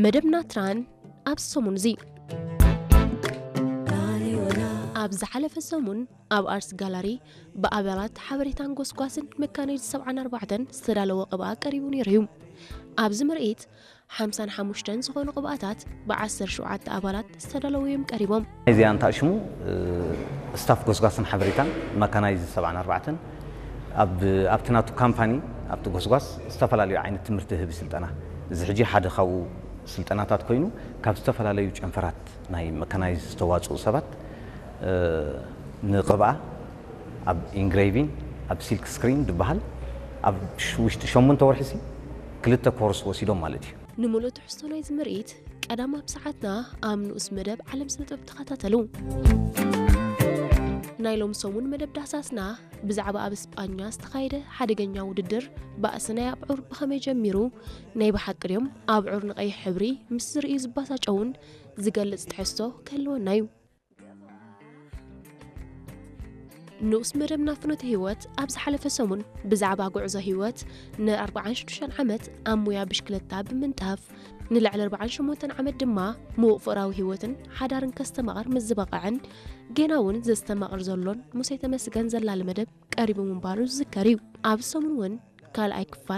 መደብና ትራን ኣብ ሰሙን እዚ። ኣብ ዝሓለፈ ሰሙን ኣብ ኣርስ ጋላሪ ብኣባላት ሓበሬታን ጎስጓስን መካናይዝድ ሰብዓን ኣርባዕተን ዝተዳለወ ቅብኣ ቀሪቡ ነይሩ እዩ። ኣብዚ ምርኢት ሓምሳን ሓሙሽተን ዝኾኑ ቅብኣታት ብዓሰርተ ሸውዓተ ኣባላት ዝተዳለዉ እዮም ቀሪቦም። እዚ ኣንታ ሽሙ ስታፍ ጎስጓስን ሓበሬታን መካናይዝድ ሰብዓን ኣርባዕተን ኣብ ኣብቲ ናቱ ካምፓኒ ኣብቲ ጎስጓስ ዝተፈላለዩ ዓይነት ትምህርቲ ህቢ ስልጠና፣ እዚ ሕጂ ሓደ ካብኡ ስልጠናታት ኮይኑ ካብ ዝተፈላለዩ ጨንፈራት ናይ መካናይዝ ዝተዋፅኡ ሰባት ንቅብኣ ኣብ ኢንግሬቪን ኣብ ሲልክ ስክሪን ዝበሃል ኣብ ውሽጢ ሸሞንተ ወርሒ ሲ ክልተ ኮርስ ወሲዶም ማለት እዩ። ንምሉእ ትሕዝቶ ናይዚ ምርኢት ቀዳም ኣብ ሰዓትና ኣብ ንኡስ መደብ ዓለም ስነ ጥበብ ተኸታተሉ። ናይ ሎም ሰሙን መደብ ዳህሳስና ብዛዕባ ኣብ እስጳኛ ዝተኻየደ ሓደገኛ ውድድር ባእሲ ናይ ኣብዑር ብኸመይ ጀሚሩ፣ ናይ ብሓቂ ድዮም ኣብዑር ንቐይሕ ሕብሪ ምስ ዝርእዩ ዝባሳጨውን ዝገልጽ ትሕዝቶ ክህልወና እዩ። ንኡስ መደብና ፍኖተ ህይወት ኣብ ዝሓለፈ ሰሙን ብዛዕባ ጉዕዞ ህይወት ን ኣርባዓን ሽዱሽተን ዓመት ኣብ ሙያ ብሽክለታ ብምንጣፍ ንልዕሊ ኣርባዓን ሸሞንተን ዓመት ድማ ምዉቕ ፍቕራዊ ህይወትን ሓዳርን ከስተማቕር ምስ ዝበቕዐን ጌና እውን ዘስተማቕር ዘሎን ሙሴ ተመስገን ዘላሊ መደብ ቀሪቡ ምንባሩ ዝዝከር እዩ። ኣብ ሰሙን እውን ካልኣይ ክፋል